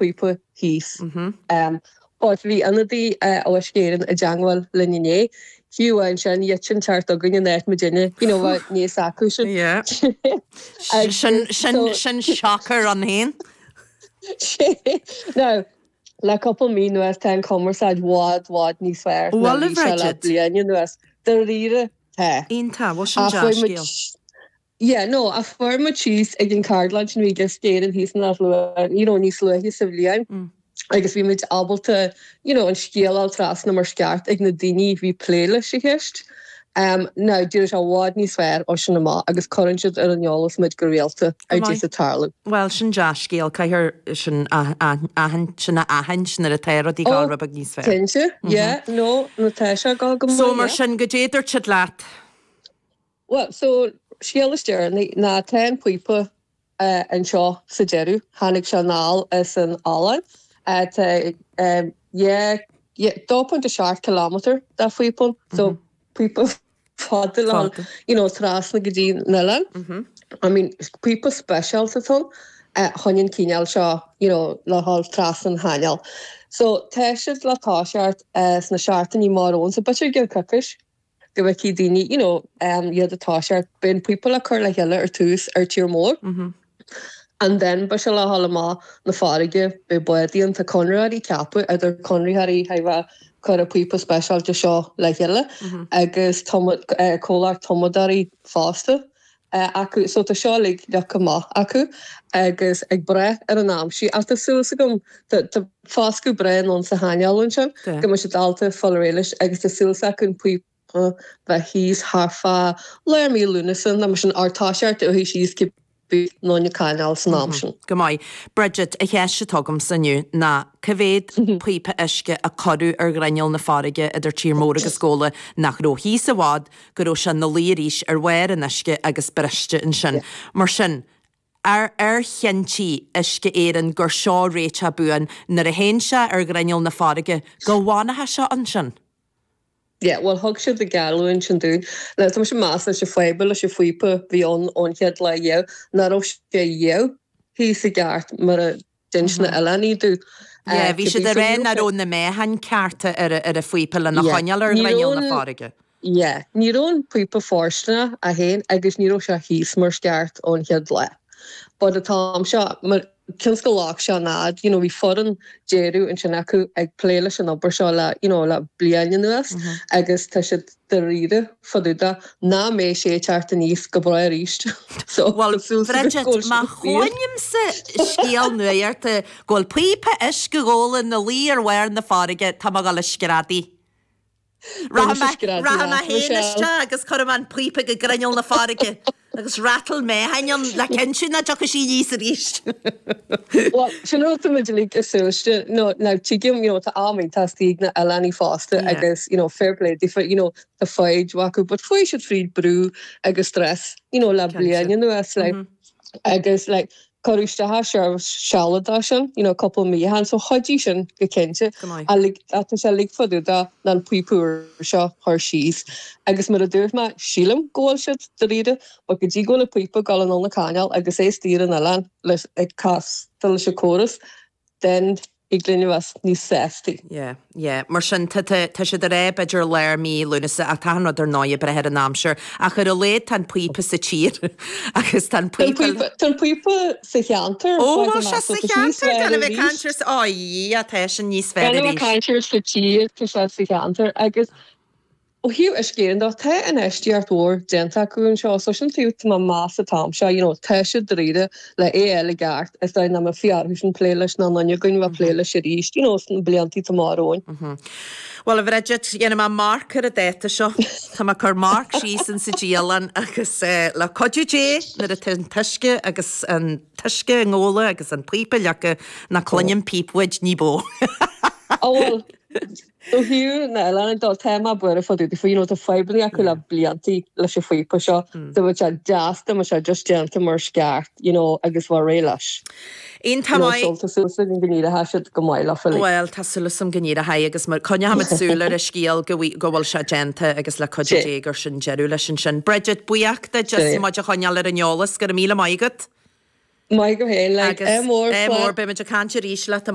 píopa thíos. But bhí ionadaí ó Uisce Éireann i dteangmháil linn inné. Fiú amháin sin, thit an ceart againn in áit muidinne, you know, bheith níos acu sin. Yeah. Sin, sin, sin siocair ann féin. Now, le cúpla mí anuas tá an cumarsáid bhfad, bhfad níos fearr ná Bhuel, bhí sé le Bridget. bliain anuas. Dáiríre, tá. Iontach, bhuel sin Ach fuair muid dea-scéal. Yeah, no, ach fuair muid síos ag an cheardlann sin a bhí ag Uisce Éireann thíos in Áth Luain, you know, níos luaithe sa bhliain agus bhí muid ábalta, you know, an scéal a fháil trasna mar is ceart ag na daoine a bhí ag plé leis an cheist. Um, now, d'éirigh sé i bhfad níos fearr ó sin amach agus cuireann siad ar an eolas muid go rialta Go ar maith. dtús ag tarlú. Bhuel, sin dea-scéal, caithfear sin a aithint, sin a aithint nuair atá rudaí ag Oh, dul rud beag níos fearr. cinnte, yeah, no, no tá sé ag dul go So maith, mar yeah. sin, goidé a dúirt siad leat? Bhuel, so, scéal is deireanaí ná tá an píopa anseo sa deireadh. Tháinig sé anall as an Ollainn. Tá yeah, yeah, 2.7 kilometre de phíopa ann, so píopa fada le dhul, you know, trasna go dtí an oileán. I mean, píopa speisialta atá ann, chun an cineál seo, you know, le dhul trasna an chainéil. So, tá siad le toiseacht sna seachtainí amach romhainn, so b'fhéidir i gceann coicís. go bhfeicfidh daoine you know iad ag toiseacht. Beidh an píopa le cur le chéile ar tús ar tír mór and then beidh sé le dhul amach na farraige, beidh bádaí ann, tá conraitheoirí ceaptha idir conraitheoirí a bheith ag cur an píopa speisialta seo le chéile agus comhlacht tumadóirí fosta acu. So tá seo uilig leagtha amach acu agus ag brath ar an aimsir ach tá súil agam tá foscadh breá ann sa chainéal ansin go mbeidh siad ábalta fáil réidh leis agus tá súil acu an píopa bheith thíos thart fá lár mí Lúnasa nó mar sin or toiseacht uaithi síos cibé nó na cainéil san am sin. Go maith. Bridget, an cheist atá agamsa inniu ná cá mhéad píopa uisce a cuireadh ar ghrinneall na farraige idir Tír Mór agus Gabhla nach raibh thíos i bhfad go raibh sé ina luí arís ar bharr an uisce agus briste ansin. Mar sin, ar ar chinntigh Uisce Éireann gur seo réiteach buan nuair a théann sé ar ghrinneall na farraige, go bhfanfaidh sé ansin? Yeah, bhuel thug siad an geallúint sin dúinn. Now tá mise ag meas leis an fadhb leis an phíopa a bhí ann ón chéad lá riamh, nach raibh sé riamh thíos i gceart mar a D'inis na oileánaigh dúinn. Yeah, bhí siad ag rá nach raibh na meáchain cearta ar an phíopa lena choinneáil ar ghrinneall na farraige. Yeah, ní raibh an píopa fóirsteanach é féin agus ní raibh sé thíos mar is ceart ón chéad lá. But an t-am seo, mar cionn is gur leag sé an fhad, you know, bhí foireann deireadh ansin acu ag plé leis an obair seo le, you know, le bliain anuas agus tá siad dáiríre fá dtaobh de nach mbeidh sé ag teacht aníos go bráth arís. So, Bhuel, tá súil agam Bridget, go bhfuil má sé fíor. chluinimse scéal nuachta go bhfuil píopa uisce Ghabhla ina luí ar bharr na farraige, tá mé ag dul a screadaí. Beidh Rachaidh mise mé, screadaí rachaidh mé leat, féin Michelle. isteach agus cuirfidh mé an píopa go grinneall na farraige. Agus rattle meáchain ann le cinntiú nach dtiocfaidh sí aníos arís. Bhuel, sin rud atá muid uilig ag súil leis. No, now tuigim, you know, tá am iontach istigh ag na oileánaigh fosta agus, you know, fair play daofa, you know, tá foighid acu, but chuaigh siad fríd brú agus stress, you know, le bliain anuas, like, agus, like, Cuireadh isteach seirbhís sealadach sin, you know, cúpla mí ó shin, so chuidigh sin go cinnte. Go maith. Ach like, ach tá sé uilig fá dtaobh de ná an píopa úr seo a chur síos. Agus mar a dúirt mé, sílim go bhfuil siad dáiríre, but go dtí go bhfuil an píopa ag dul anall na cainéil agus é istigh ar an oileán leis, ag castáil leis an córas, then thig linn a bheith níos sástaí. Yeah, yeah. Mar sin, tá, tá, tá siad ag rá b'fhéidir lár mí Lúnasa ach tá an rud ar ndóigh ag brath ar an aimsir. Ach ar a laghad tá an píopa sa tír agus tá an Tá an píopa. píopa, tá an píopa sa cheantar, Ó, faigh bhfuil sé amach, sa so tá sé níos cheantar? fearr Gan a bheith ag arís. caint ar, ó, yeah, tá sin níos fearr Gan a bheith ag arís. caint ar sa tír, tá sé sa cheantar agus Ó thaobh Uisce Éireann de, tá infheistíocht mhór déanta acu anseo, so sin taobh tá mé ag meas an t-am seo, you know, tá siad dáiríre le é a fháil i gceart, is dóigh nach mbeifí orthu sin plé leis ná aon duine againn a bheith ag plé leis arís, you know, sna bliantaí atá amach romhainn. Bhuel, a Bhridget, dhéanfaidh mé marc ar an dáta seo. Tá mé ag cur marc síos insa dialann agus le cuidiú Dé nuair atá an t-uisce agus an t-uisce i nGabhla agus an píopa leagtha, ná cluinim píp uait ní bó. Ó bhuel, Ó thaobh na n-oileánach de, tá mé buartha fá dtaobh daofa, you know, tá fadhbanna acu le bliantaí leis an phíopa seo, dá mbeadh sé deas dá mbeadh sé just déanta mar is ceart, you know, agus bheadh réidh leis. Iontach You know, maith. so tá súil agam go n-éireoidh siad go maith leofa uilig. Bhuel, tá súil agam go n-éireoidh agus mar coinneochaimid súil ar an scéal go go bhfuil sé déanta agus le cuidiú Dé gur sin deireadh leis ansin. Bridget, buíoch duit as muid a choinneáil ar an eolas, go raibh míle maith agat. Maith go féin, like, Agus ádh mór, ádh mór, beimid ag caint arís leat.